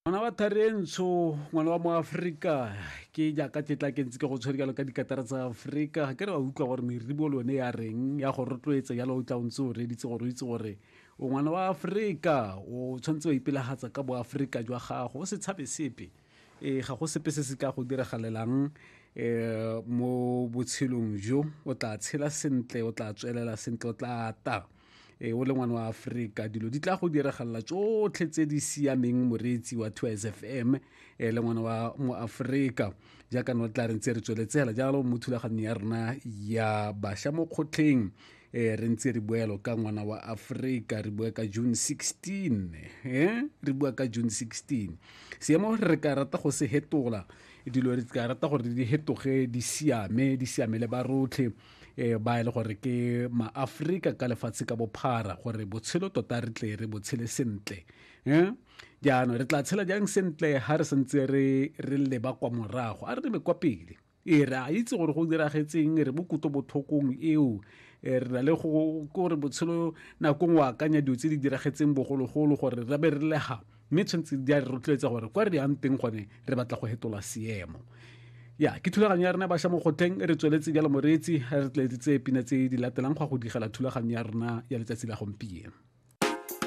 Ngwana wa Tharentsho, ngwana wa moAforika, ke jaaka ke tla ke ntse ke go tshwere jalo ka dikatara tsa Aforika. Ga ke re wa utlwa gore meribo le yone ya reng ya go rotloetsa jalo, o tla o ntse o reditse gore o itse gore o ngwana wa Aforika, o tshwanetse wa ipelagatsa ka boAforika jwa gago, o se tshabe sepe. Ee, ga go sepe se se ka go diragalelang mo botshelong jo, o tla tshela sentle, o tla tswelela sentle, o tla ata. E o le ngwana wa Aforika, dilo di tla go diragalela tsotlhe tse di siameng. Moreetsi wa 2 FM e le ngwana wa mo Aforika, jaaka no tla re ntse re tsweletsela jalo mo thulaganyong ya rona ya bašwa mo kgotlheng, re ntse re buelo ka ngwana wa Aforika, re bua ka June 16, re bua ka June 16. Seemo re ka rata go se hetola, dilo re ka rata gore di hetoge, di siame, di siamele ba rotlhe ba e le gore ke maAforika ka lefatshe ka bophara, gore botshelo tota re tle re botshele sentle. Jaanong re tla tshela jang sentle ha re santse re leba kwa morago? A re lebe kwa pele. Ee, re a itse gore go diragetseng, re mo kutlobotlhokong eo, re na le go gore botshelo nako nngwe akanya dilo tse di diragetseng bogologolo gore re be re lega, mme tshwanetse di a re rotloetsa gore kwa re yang teng gone re batla go hetola seemo. Ya ke thulaganyo ya rena bašwa mo kgotleng, re tsweletse jalo moreetsi, re tletse pina tse di latelang go ya go digela thulaganyo ya rona ya letsatsi la gompieno.